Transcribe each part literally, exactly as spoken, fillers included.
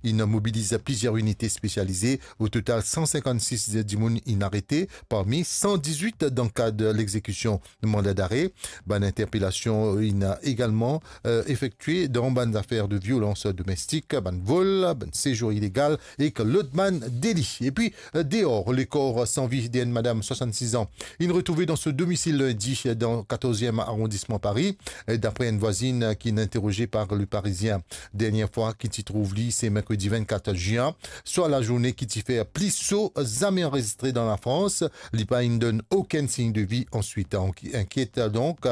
inn mobiliz plizier inite spesialize. O total, san sinkannsis dimoun inn arete, parmi san dizwit dan kad lexekision manda dare. Bann interpelasion inn egalman, eh, efektie dan bann zafer de violans domestik, bann vol, bann sezour ilegal ek lot bann deli. Epi, eh, deor lekor san vi de enn madam swasannsis an, inn retrouve dan so domisil lindi dan katorz-iem arondisman Pari, eh, dapre enn vwazinn ki'nn interoze par Le Parisien. Dernie fwa ki ti trouv li, se merkredi vennkat zin, swar lazourne ki ti fer pli so zame anrezistre dan Lafrans. Li pa inn donn okenn sign de vi answit. Anki-, inkiet donk,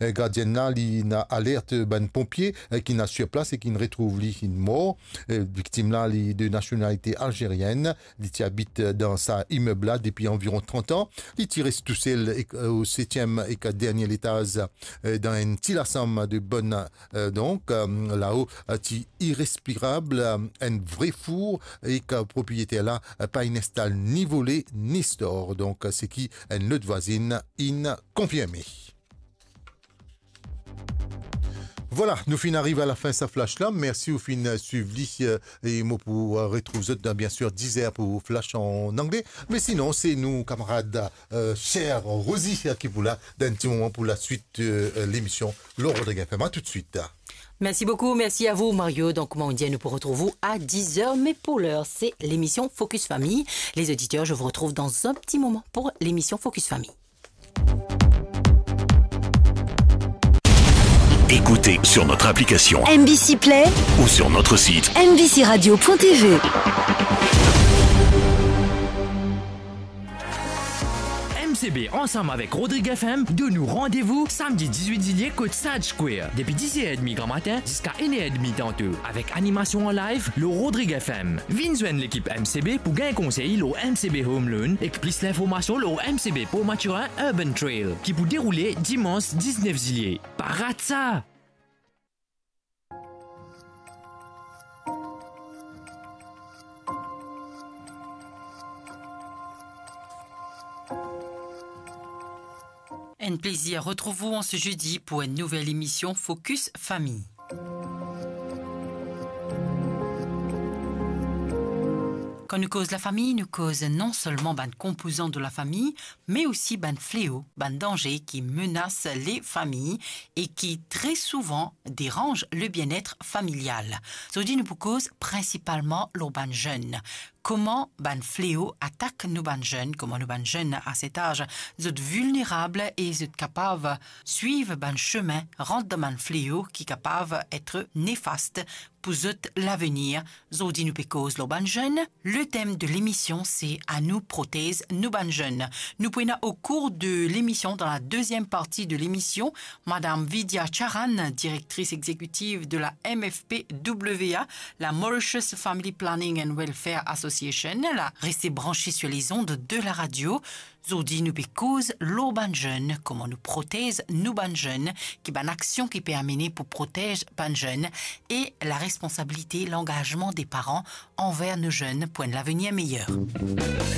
eh, gardienn la, li inn alert bann ponpie, eh, ki'nn al sir plas e ki'nn retrouv li inn mor. Eh, viktim la, li de nasionalite alzerienn. Li ti abit, eh, dan sa imeb la depi anviron trant an. Li ti res tousel ek, eh, o setiem ek dernie letaz, eh, dan enn ti lasam de bann, eh, donk, eh, lao, eh, ti irespirab, eh, enn vre four, ek, eh, propriyeter la, eh, pa inn instal ni vole, ni stor. Donk, eh, seki enn lot vwazinn inn konfirme. Vwala, nou finn ariv a lafin sa flash la. Mersi ou finn swiv li, eh, e mo pou, eh, retrouv zot dan, bien sir, diz er pou flash an angle. Me sinon, se nou kamarad, eh, cher Rosie, eh, ki pou la dan enn ti moman pou laswit, eh, lemision lor Rodrig FM. A toutswit. Merci beaucoup, merci à vous, Mario. Donc, kouma nou dir, nou pou retrouv ou a diz er, me pou ler, se lemision Focus Famille. Les auditeurs, je vous retrouve dans un petit moment pour l'émission Focus Famille. Écoutez sur notre application M B C Play ou sur notre site M B C radio point T V. M C B ansam avek Rodrig F M donn nou randevou samdi diz-wit zilie kot Sage Square, depi diz er edmi gramatin ziska enn er edmi tanto, avek animasion an live lor Rodrig F M. Vinn zwenn lekip M C B pou gagn konsey lor M C B Home Loan ek plis linformasion lor M C B Port Mathurin Urban Trail, ki pou deroule dimans diz-nef zilie. Pa rat sa! Un plaisir retrouver vous en ce jeudi pour une nouvelle émission Focus Famille. Kan nou koz lafami, nou koz non selman bann konpozan de lafami, me osi bann fleo, bann danze ki menas lefami e ki tre souvan deranz le bien-être familial. Zordi nou pou koz prinsipalman lor bann zenn. Kouma bann fleo atak nou bann zenn, kouma nou bann zenn a set az, zot vilnerab e zot kapav swiv bann semin, rant dan bann fleo ki kapav et nefast pou zot lavenir. Zordi nou pe koz lor bann zenn. Le thème de l'émission, c'est à nous protez nou bann zenn. Nou pou ena au cours de l'émission, dans la deuxième partie de l'émission, Madame Vidya Charan, directrice exécutive de la M F P W A, la Mauritius Family Planning and Welfare Association, la reste branchée sur les ondes de la radio. Zordi nou pe koz lor bann zenn, kouma nou protez nou bann zenn, ki bann aksion ki pe amene pou protez bann zenn, e la responsabilite, langazman de paran anver nou zenn pou enn lavenir meyer.